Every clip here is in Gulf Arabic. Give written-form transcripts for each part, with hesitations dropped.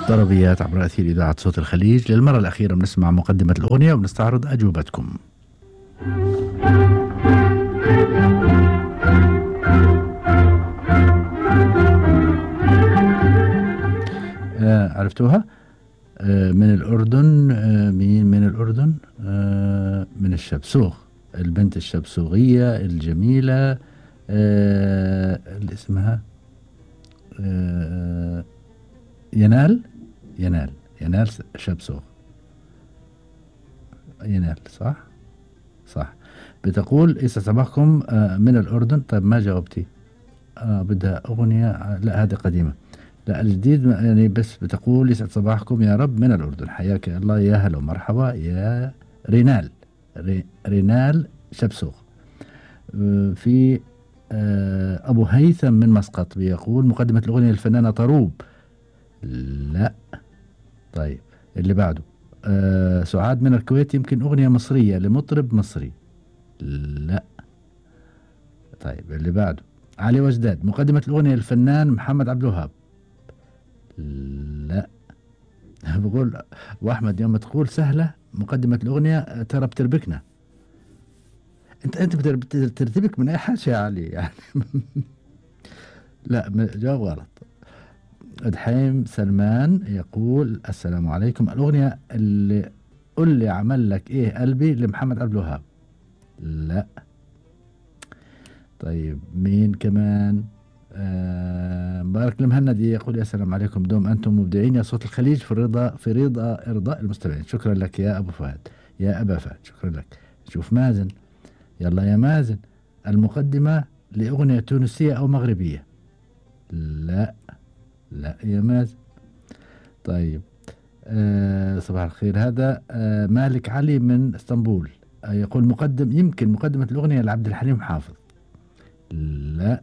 طربيات عبر أثير إذاعة صوت الخليج. للمرة الأخيرة بنسمع مقدمة الأغنية وبنستعرض أجوبتكم. عرفتوها؟ من الأردن. مين من الأردن؟ من الشبسوغ، البنت الشبسوغية الجميلة اللي اسمها ينال شبسوغ. ينال صح. بتقول يسعد صباحكم من الأردن. طيب ما جاوبتي. بدها أغنية، لا هذه قديمة، لا الجديد يعني. بس بتقول يسعد صباحكم يا رب من الأردن، حياك الله، يا هلا ومرحبا يا رينال شبسوغ. في أبو هيثم من مسقط بيقول مقدمة الأغنية الفنانة طروب. لا. طيب اللي بعده سعاد من الكويت، يمكن أغنية مصرية لمطرب مصري. لا. طيب اللي بعده علي وجداد، مقدمة الأغنية الفنان محمد عبد الوهاب. لا. بقول وأحمد يوم تقول سهلة مقدمة الأغنية ترى بتربكنا. أنت بترتبك من أي حاجة يا علي يعني. لا جواب غلط. دحيم سلمان يقول السلام عليكم، الأغنية اللي قل لي عمل لك إيه قلبي لمحمد عبد الوهاب. لا. طيب مين كمان؟ مبارك المهندي يقول يا سلام عليكم، دوم أنتم مبدعين يا صوت الخليج في رضا إرضاء المستمعين. شكرا لك يا أبو فهد، يا أبا فهد، شكرا لك. شوف مازن، يلا يا مازن، المقدمة لأغنية تونسية أو مغربية. لا يا مازن. طيب صباح الخير، هذا مالك علي من اسطنبول يقول يمكن مقدمة الأغنية لعبد الحليم حافظ. لا.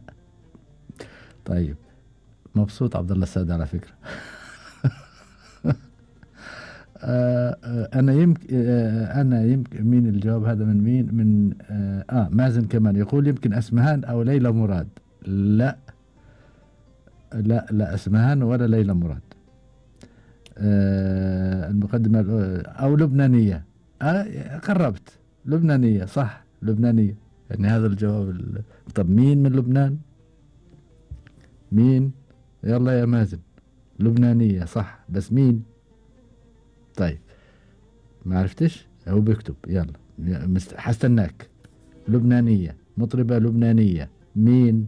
طيب مبسوط عبد الله السعد على فكرة. أنا يمكن مين الجواب هذا من مين؟ من مازن كمان يقول يمكن أسمهان أو ليلى مراد. لا أسمهان ولا ليلى مراد. المقدمة أو لبنانية. قربت، لبنانية صح، لبنانية يعني هذا الجواب. طب مين من لبنان؟ مين؟ يلا يا مازن، لبنانية صح، بس مين؟ طيب ما عرفتش، هو بيكتب. يلا حستناك. لبنانية، مطربة لبنانية. مين؟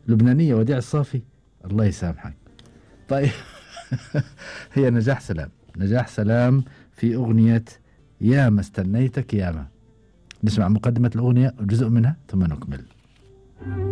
لبنانية وديع الصافي. الله يسامحك. طيب. هي نجاح سلام في أغنية ياما استنيتك ياما. نسمع مقدمة الأغنية وجزء منها ثم نكمل.